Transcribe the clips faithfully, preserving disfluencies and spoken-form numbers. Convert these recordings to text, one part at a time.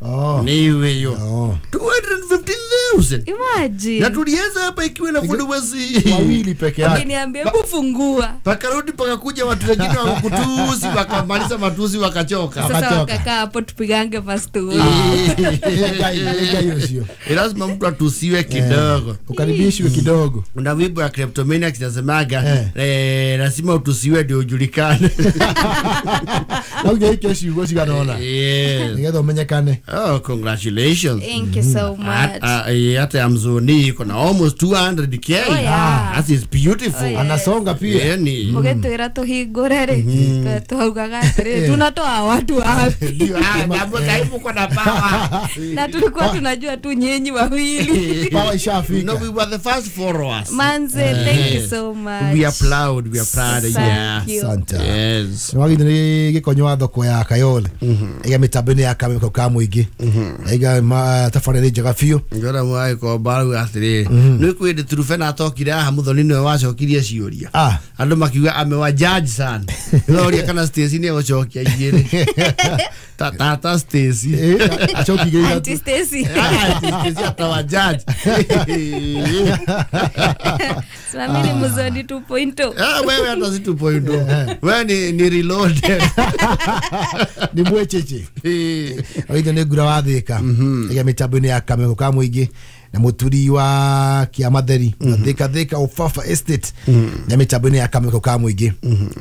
Oh. Ni hiyo. two hundred fifty thousand. Imagine. Na tulianza hapa ikiwa na followers wawili peke yake. Ukiniambia kufungua. Pakarudi pakakuja watu wengine wakutusi, wakamaliza matusi wakachoka. Sasa wakakaa hapo tupigange fast. Lazima mtu atusiwe kidogo. Ukaribishwe kidogo. Una wimbo ya Kleptomaniacs inasemaga eh lazima utusiwe ndio ujulikane. Na ungeike shigo shiganaona. Yes. Ngedo menyekane. Oh, congratulations. Thank you so much. Hata ya mzoni iko na almost two hundred K. Oh, yeah. That is beautiful. Oh, yes. Anasonga pia. Yani. Mugetwira tuhingure ri. Tuhaugaga atiri tunatoa watu wapi? Ndio, hapo kaibu kwa na power. Na tulikuwa tunajua tu nyinyi wawili. Power ishafika. No, we were the first followers. Manze, thank you so much. We are proud, we are proud. Yeah. Asante. Yes. Nwagi ni gikonyo thoko ya Kayole. Iga mitambo-inĩ ya Kameme ka muingi. Iga tabarĩra njega biũ. Ngora mwai ko baru atiri. Nĩ kwĩ Trufena atokire haha Muthoni nĩwe wacokirie ciũria. Andũ makiuga amewa judge sana. Noria kana Stacy nĩ egũcokia igĩrĩ. Tata Stacy. Acokirie ithatũ. Auntie Stacy. Auntie Stacy atawa judge. Mimi ni Muthoni two point oh. Ah, wewe hata si two point oh. Wewe ni ni reloaded. Ni mwecheche. Oithe nĩ ngura wa Thika. Iga mitambo-inĩ ya Kameme ka muingi na muturi wa Kiamatheri na Thika Thika Ufafa Estate na mitambo-inĩ ya Kameme ka muingi.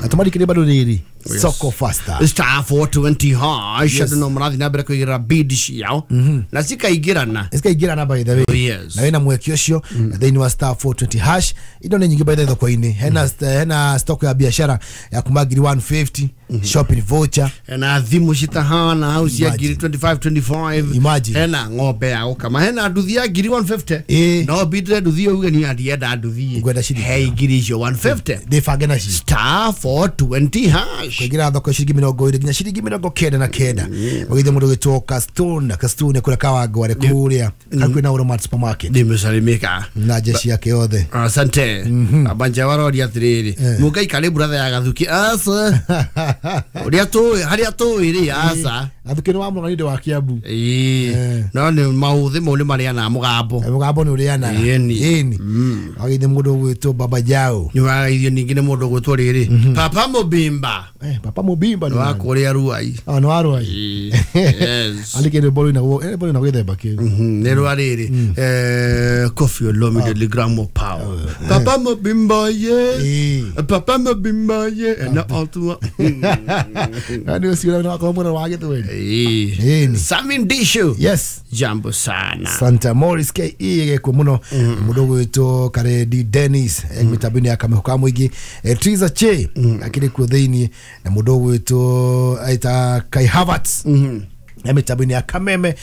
Na tumarikire bado riri Soko Faster. Star four twenty hash yes. No mrathi na mbere kuigira bid ciao na cikaingirana. Cikaingirana by the way. Oh, yes. Na wina mweke ucio na thĩinĩ wa star four twenty hash indo nĩ nyingĩ by the thoko-inĩ. Hena hena stock ya biashara ya kuma ngiri one fifty shopping voucher hena thimu citahana hau cia ngiri twenty-five twenty-five. Imagine. Hena ng'ombe ya gũkama hena nduthi ya ngiri one fifty. No bidre nduthi uge ni andienda nduthi. He ngiri icio one fifty. Ndĩbange nacio. Star four twenty hash. Kuingira thoko ciringi mĩrongo ĩrĩ nginya ciringi mĩrongo kenda na kenda. Ũgĩthiĩ mũndũ ũgĩtwo Castone Castone kũrĩa Kawangware kũrĩa hakuhĩ na Walmart supermarket. Nimesalimika na jeshi yake yothe. Asante. Abanja waroria atiriri. Mũngaikare brother ya Gathuki asa. Ũrĩa tũĩ harĩa tũĩ rĩ asa. Gathuki nĩ wa mũrani wa Kiambu. Ĩĩ. No nĩ maũthĩ mau nĩ marĩanaga mũgambo. Mũgambo nĩ ũrĩanaga. Ĩni. Ũgĩthiĩ mũndũ ũgwĩtwo Baba Jao. Nĩ wagaithio ningĩ nĩ mũndũ ũgwĩtwo rĩrĩ. Papa Mobimba. Eh, Papa Mobimba ni wa kuria Ruai. Ah, no Ruai. Yes. Alike ni bolo ina eh bolo ina gwethemba ki. Mhm, ni rwa riri. Eh, Koffi Olomide le grand mot power. Papa Mobimba ye. Papa Mobimba ye na altua. Na ni usiona na kwa mwana wa githweri. Eh. Samin Dishu. Yes. Jambo sana. Santa Morris K E gekwo muno. Mundu gwitwo Karedi Dennis mitambo-inĩ ya Kameme ka muingi. Triza Che akiri kuo thiini na mundu gwitwo aita Kai Havertz. Na mitambo-inĩ ya Kameme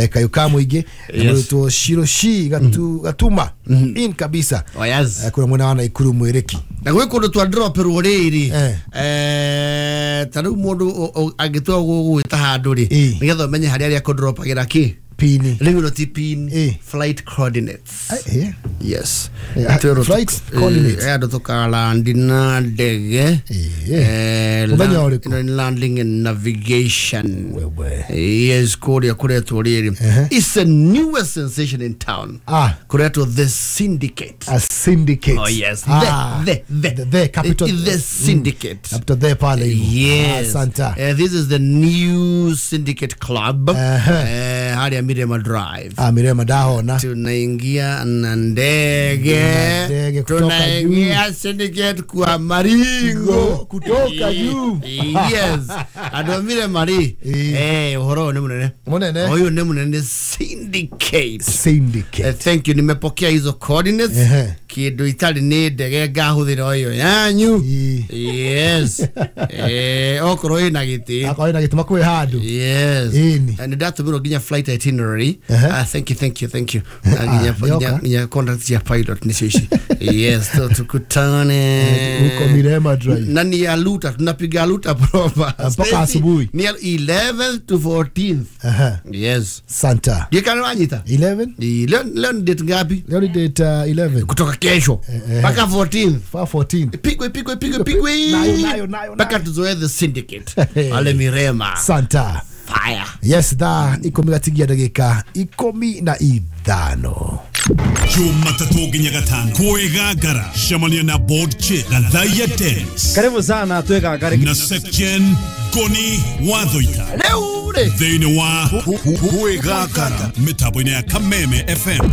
kayu ka muingi na mundu gwitwo Shiroshi gatu Gatuma in kabisa. Oh yes. Kuna mwena wa Naikuru mwiriki. Na gwĩ kũndũ twa dropirwo rĩrĩ eh ta rĩu mũndũ angĩtua gũgwĩta handũ rĩ nĩgetha ũmenye harĩa arĩa kũdropagĩra kĩ pini. Rĩu no ti pin, flight coordinates. Eh yes. Flight coordinates. Eh andũ tũkalandi na ndege. Eh landing and navigation. Yes, kũrĩa kũretwo rĩrĩ. It's the newest sensation in town. Ah, kũretwo the syndicate. A syndicate. Oh yes. Ah, the the the the capital the syndicate. Capital the pale. Yes. Santa. Uh, this is the new syndicate club. Eh harĩa Mirema Drive. Ah, Mirema ndahona. Tunaingia na ndege. Tunaingia syndicate kwa maringo kutoka juu. Yes. Andũ Mirema rĩ. Eh, ũhoro nĩ mũnene. Mũnene. Ũyũ nĩ mũnene syndicate. Syndicate. Uh, thank you. Nimepokea hizo coordinates. Kĩndũ itarĩ nĩ ndege ngahũthĩra ĩyo yanyu. Yes. Eh, okorwo ĩna gĩtĩ. Akorwo ĩna gĩtĩ makwĩ handũ. Yes. And ndatũmĩrwo nginya flight itinerary. Uh, thank you, thank you, thank you. Nginya nginya contact ya pilot nicio ici. Yes, so tukutane huko Mirema Drive. Na ni ya Luta, tunapiga Luta proper mpaka asubuhi. Ni eleventh to fourteenth. Aha. Yes. Santa. Ndikana wanyita? eleven? Leo leo ni date ngapi? Leo ni date uh, eleven. Kutoka kesho mpaka fourteenth. fourteenth. Pigwe pigwe pigwe pigwe. Nayo nayo nayo. Mpaka tuzoe the syndicate. Ale Mirema. Santa. Fire. Yes, thaa ikumi gatigia ndagika ikumi na ithano. Jumatatu nginya gatano kwĩgangara cemania na board chair Gathaiya Dennis. Karibu sana twĩgangare na section Goni Wathoita rĩu rĩ thĩinĩ wa kwĩgangara mĩtambo-inĩ ya Kameme F M.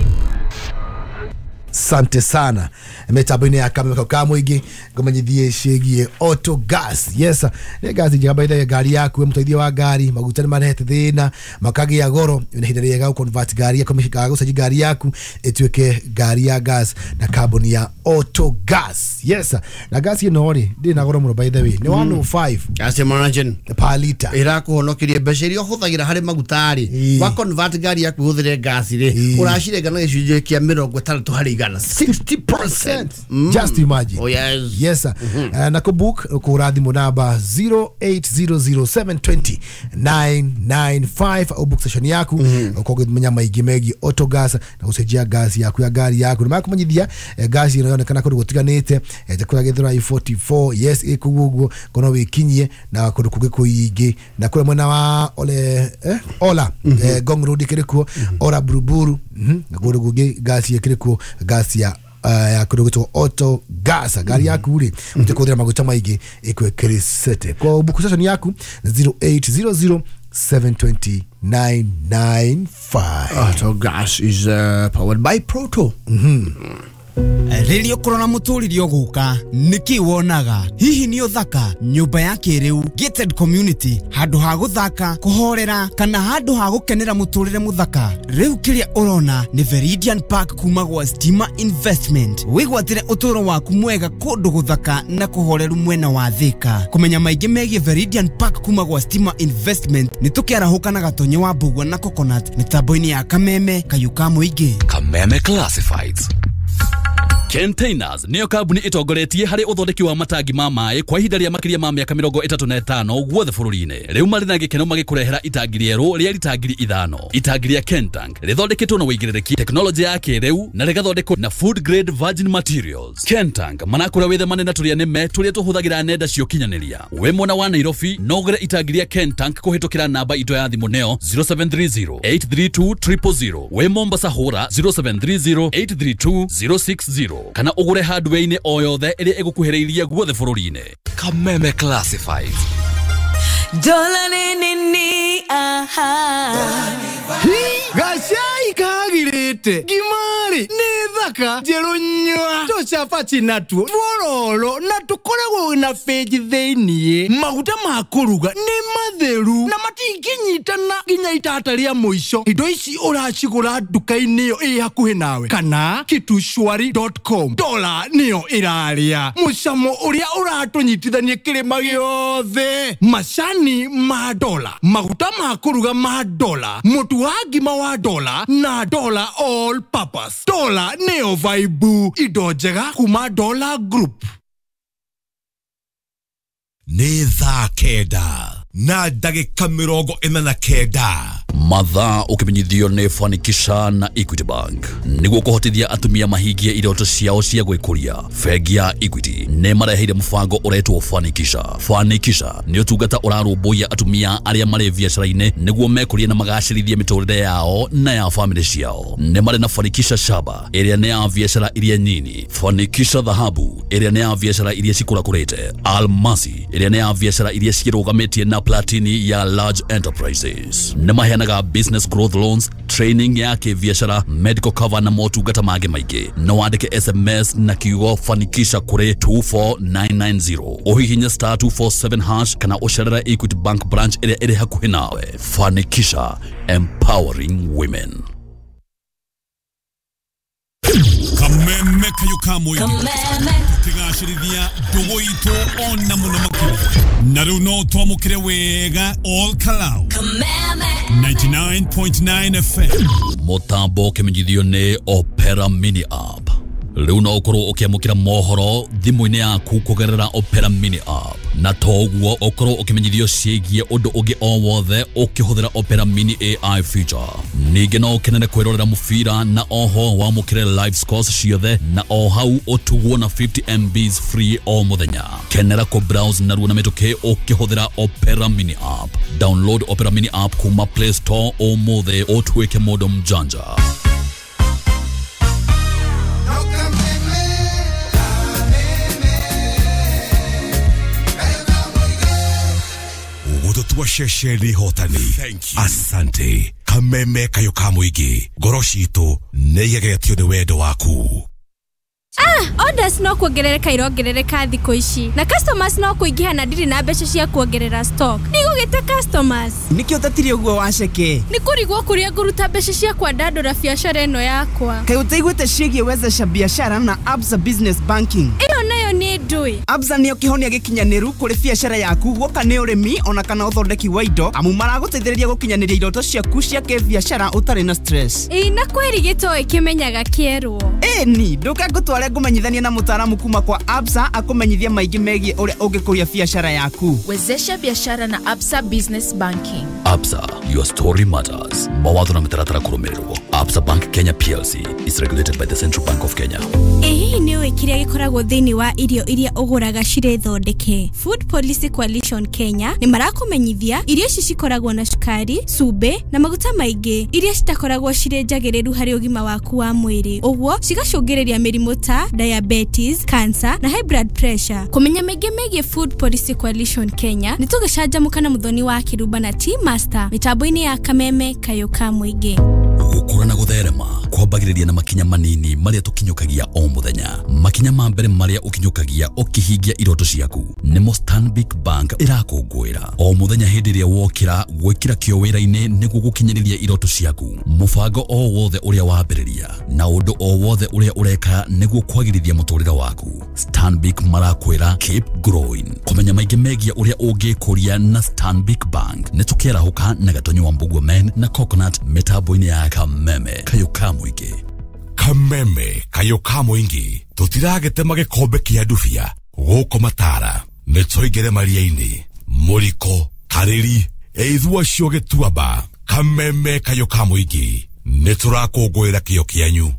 Sante sana mitambo-inĩ ya Kameme ka mũingĩ ngũmenyithie ciĩgiĩ auto gas. Yes, nĩ gas njega by the way, ngari yaku mũteithio wa ngari maguta nĩ marehete thĩna makagĩa goro na ihinda rĩega gũ convert ngari yaku mĩhika gũcenjia ngari yaku ĩtuĩke ngari ya gas na kambuni ya auto gas. Yes, na gas ĩno rĩ ndĩrĩ na goro mũno by the way nĩ one oh five gas margin per liter ĩrakũhonokeria mbeca iria ũhũthagĩra harĩ maguta rĩ wa convert ngari yaku ũhũthĩre gas rĩ ũracirenga na gĩcunjĩ kĩa mĩrongo ĩtandatũ harĩ igana sixty percent. Mm. Just imagine. Oh yes. Yes sir. Mm-hmm. Uh, na kubook ukura thimu namba zero eight zero zero seven two zero nine nine five au book session yaku mm-hmm. Ukogimenya maingĩ megiĩ auto gas na gũcenjia gas yaku ya ngari yaku na makumenyithia eh, gas ĩno yonekana kũndũ gũtiganĩte eh, ta kũrĩa Gĩthũrai forty-four yes ĩkũu ũguo kono wĩkinyie na kũndũ kũngĩ kũingĩ na kũrĩa mwena wa ole eh, Ola mm-hmm. eh, Ngong Road ĩkĩrĩ kuo mm-hmm. Ora Buruburu mm-hmm. na kũndũ kũngĩ gas ĩkĩrĩ kuo gas ya uh, ya kũndũ gwĩtwo auto gas ngari yaku rĩ ũtekũhũthĩra maguta maingĩ ĩkwĩkĩrĩcete kwa book session yaku zero eight zero zero seven two zero nine nine five. Auto gas is uh, powered by Proto. Mm-hmm. Rĩrĩa ũkũrora mũtũrĩre ũgũka nĩkĩ wonaga hihi nĩ ũthaka nyũmba ya kĩrĩu gated community handũ ha gũthaka kũhorera kana handũ ha gũkenera mũtũrĩre mũthaka rĩu kĩrĩa ũrona nĩ Veridian Park kuma gwa Stima Investment wĩgwatĩre ũtũũro waku mwega kũndũ gũthaka na kũhoreru mwena wa Thika kũmenya maingĩ megiĩ Veridian Park kuma gwa Stima Investment nĩ tũkĩarahũka na Gatonye wa Mbugua na Coconut mĩtambo-inĩ ya Kameme Kayũ ka Mũingĩ. Kameme Classifieds. Containers niyo kambuni itongoretie harĩ ũthondeki wa matangi ma maĩ kwa ihinda rĩa makĩria ma mĩaka mĩrongo ĩtatũ na ĩtano guothe bũrũri-inĩ. Rĩu marĩ na gĩkeno magĩkũrehera itangi rĩerũ rĩa rita ngiri ithano. Itangi rĩa Kentank rĩthondeketwo na ũigĩrĩrĩki tekinoronjĩ ya kĩrĩu na rĩgathondekwo na food grade virgin materials. Kentank marakũra wĩthemane na tũrĩa nĩme tũrĩa tũhũthagĩra nenda cia ũkinyanĩria. Wĩ mwena wa Nairobi no ũgũre itangi rĩa Kentank kũhĩtũkĩra namba itũ ya thimũ neo zero seven three zero eight three two triple zero. Wĩ Mombasa hũra zero seven three zero eight three two zero six zero. Kana ũgũre hardware-inĩ o yothe ĩrĩa ĩgũkuhĩrĩirie guothe bũrũri-inĩ. Kameme Classifieds. Dola ni ni aha. Gacai kagirite ngimari nĩ thaka njerũ nyua tũcabaci natuo twororo na tũkoragwo na benji thĩiniĩ maguta ma kũruga nĩ matheru na matingĩnyitana nginya itata rĩa mũico indo ici ũracigũra nduka-inĩ ĩyo ĩ hakuhĩ nawe kana kitushwari dot com dola nĩyo ĩrarĩa mũcamo ũrĩa ũratũnyitithania kĩrĩma gĩothe macani ma dola maguta ma kũruga ma dola mũtu wa ngima wa dola na dola all purpose dola neo vaibu indo njega kuma Dola Group. Nĩ thaa kenda na ndagĩka mĩrongo ĩna na kenda. Mathaa ũkĩmenyithio nĩ Fanikisha na Equity Bank nĩguo kũhotithia atumia mahingie iroto ciao cia gwĩkũria. Bengi ya Equity nĩ mareheire mũbango ũretwo Fanikisha. Fanikisha nĩ ũtungata ũrarũmbũiya atumia arĩa marĩ biacara-inĩ nĩguo mekũrie na magacĩrithie mĩtũrĩre yao na ya famĩlĩ ciao. Nĩ marĩ na Fanikisha Shaba ĩrĩa nĩ ya biacara iria nyini, Fanikisha Dhahabu ĩrĩa nĩ ya biacara iria cikũrakũrĩte, Almasi ĩrĩa nĩ ya biacara iria cirũgamĩtie na Platini ya large enterprises. Nĩ maheanaga business growth loans, training ya kĩbiacara, medical cover na motungata mangĩ maingĩ. No wandĩke S M S na kiugo Fanikisha kũrĩ two four nine nine zero ũhihinye star two four seven hash kana ũcerere Equity Bank branch ĩrĩa ĩrĩ hakuhĩ nawe. Fanikisha, empowering women. Kameme Kayũ ka Mũingĩ tũkĩgacĩrithia ndũgũ itũ ona mũno makĩria na rĩu no twamũkĩre wega all Kalau ninety-nine point nine F M. Mũtambo ũkĩmenyithio nĩ Opera Mini App. Rĩu no ũkorwo ũkĩamũkĩra mohoro thimũ-inĩ yaku kũgerera Opera Mini App. Na toguo ũkorwo ũkĩmenyithio ciĩgiĩ ũndũ ũngĩ o wothe ũkĩhũthĩra Opera Mini A I feature. Ningĩ no ũkenere kwĩrorera mũbira na oho wamũkĩre live scores ciothe na o hau ũtugwo na fifty M Bs free o mũthenya. Kenera kũ browse narua na mĩtũkĩ ũkĩhũthĩra Opera Mini app. Download Opera Mini app kuma Play Store ũmũthĩ ũtuĩke mũndũ mjanja. Gũtũtua ceceni hotani. Asante. Kameme kayo ka mũingĩ. Ngoro citũ nĩ igegetio nĩ wendo waku. Ah, orders no kuongerereka irongerereka thikũ ici na customers no kũingĩha na ndirĩ na mbeca cia kuongerera stock. Ndigũgĩta customers. Nĩkĩo ũtatire ũguo waceke? Nĩ kũrigwo kũrĩa ngũruta mbeca cia kwandandũra biacara ĩno yakwa. Kaĩ ũtaiguĩte ciĩgiĩ wezesha biashara na Absa Business Banking? Ĩyo nayo nĩ ndũĩ. Absa nĩyo kĩhonia gĩkinyanĩru kũrĩ biacara yaku guoka nĩ ũrĩmi ona kana ũthondeki wa indo amu maragũteithĩrĩria gũkinyanĩria iroto ciaku cia kĩbiacara ũtarĩ na stress. Ĩĩ na kweri gĩtoĩ kĩmenyaga kĩerwo. Ĩni ndũke ngũtware ngũmenyithanie na mũtaaramu kuma kwa Absa akũmenyithie maingĩ megiĩ ũrĩa ũngĩkũria biacara yaku. Wezesha biashara na Absa Business Banking. Absa, your story matters. Mawatho na mĩtaratara kũrũmĩrĩrwo. Absa Bank Kenya P L C is regulated by the Central Bank of Kenya. Ĩ hihi nĩ ũĩ kĩrĩa gĩkoragwo thĩinĩ wa irio iria ũgũraga cirĩ thondeke? Food Policy Coalition Kenya nĩ marakũmenyithia irio ici cikoragwo na cukari, cumbĩ na maguta maingĩ iria citakoragwo cirĩ njagĩrĩru harĩ ũgima waku wa mwĩrĩ, ũguo cigacũngĩrĩria mĩrimũ ta diabetes, cancer na high blood pressure. Kũmenya maingĩ megiĩ Food Policy Coalition Kenya nĩ tũgĩcanjamũka na Mũthoni wa Kĩrumba na Tea Master mĩtambo-inĩ ya Kameme Kayo ka Mũingĩ. Gũkũra na gũtherema kwambagĩrĩria na makinya manini marĩa tũkinyũkagia o mũthenya. Makinya ma mbere marĩa ũkinyũkagia ũkĩhingia iroto ciaku nĩmo Stanbic Bank ĩrakũngũĩra o mũthenya hĩndĩ ĩrĩa wokĩra gwĩkĩra kĩo wĩra-inĩ nĩguo gũkinyĩrĩria iroto ciaku. Mũbango o wothe ũrĩa wambĩrĩria na ũndũ o wothe ũrĩa ũreka nĩguo kwagĩrithia mũtũrĩre waku, Stanbic marakwĩra keep growing. Kũmenya maingĩ megiĩ ũrĩa ũngĩkũria na Stanbic Bank nĩ tũkĩarahũka na Gatonyo wa Mbugua Men na Coconut mĩtambo-inĩ ya Kameme Kayo ka Mũingĩ. Kameme kayo ka mũingĩ tũtiragetema gĩkombe kĩa ndubia gũkũ matara nĩ tũingĩre maria-inĩ mũriko karĩri ĩithua cio gĩtuamba. Kameme kayo ka mũingĩ nĩ tũrakũngũĩra kĩo kĩanyu.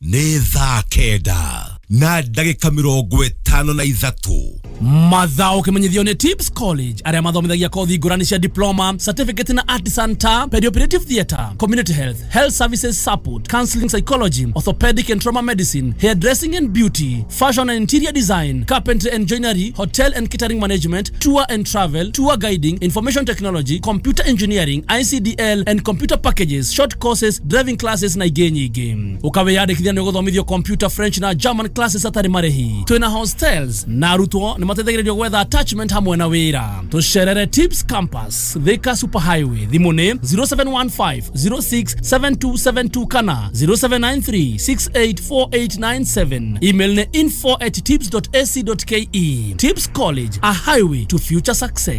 Nĩ thaa kenda na ndagĩka mĩrongo ĩtano na ithatũ. Mathao kĩmenyithio nĩ Tips College arĩa mathomithagia kothi ngũrani cia diploma, certificate na artisan ta perioperative theatre, community health, health services support, counseling psychology, orthopedic and trauma medicine, hairdressing and beauty, fashion and interior design, carpentry and joinery, hotel and catering management, tour and travel, tour guiding, information technology, computer engineering, I C D L and computer packages, short courses, driving classes na ingĩ nyingĩ. Ũkawĩyandĩkithia nĩ ũgũthomithio computer, French na German classes atarĩ marĩhi. Twĩna hostels na arutwo nĩ mateithagĩrĩrio gwetha attachment hamwe na wĩra. Tũcerere Tips Campus, Thika Super Highway. Thimũ nĩ zero seven one five zero six seven two seven two kana zero seven nine three six eight four eight nine seven. Email nĩ info at tips dot a c dot k e. Tips College, a highway to future success.